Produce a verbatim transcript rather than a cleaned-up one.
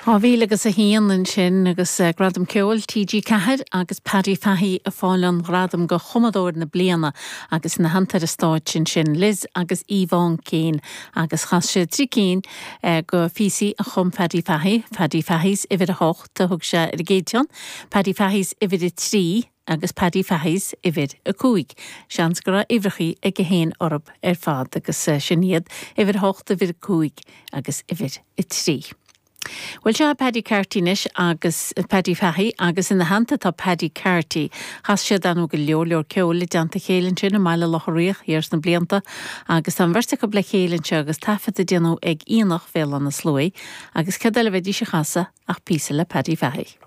Dhá mhíle agus a haon ansin agus eh, Gradam Ceoil TG Ceathair agus Paddy Fahey ag fáil an gradam do chumadóir na bliana agus ina theannta ar an stáitse sin Liz agus Yvonne Keane agus chas sé trí cinn eh, de phíosaí a chum Paddy Fahey, Paddy Fahey's uimhir a hocht a thug sé ar an gcéad cheann, Paddy Fahey's uimhir a trí agus Paddy Fahey's uimhir a cúig. Seans go raibh uimhreachaí ag a haon orthu ar fad agus eh, sin iad uimhir a hocht uimhir a cúig agus uimhir a trí. Well seo Paddy Carty anois agus Paddy Fahey agus ina theannta tá Paddy Carty. Chas siad an go leor leor ceoil i dteannta a chéile sin i mBaile Locha Riach thiar sna blianta agus tá an bheirt acu le chéile anseo agus taifead á dhéanamh ag Aonach Bhéal Átha na Sluaighe agus cad eile a bheidís a chasadh ach píosa le Paddy Fahey.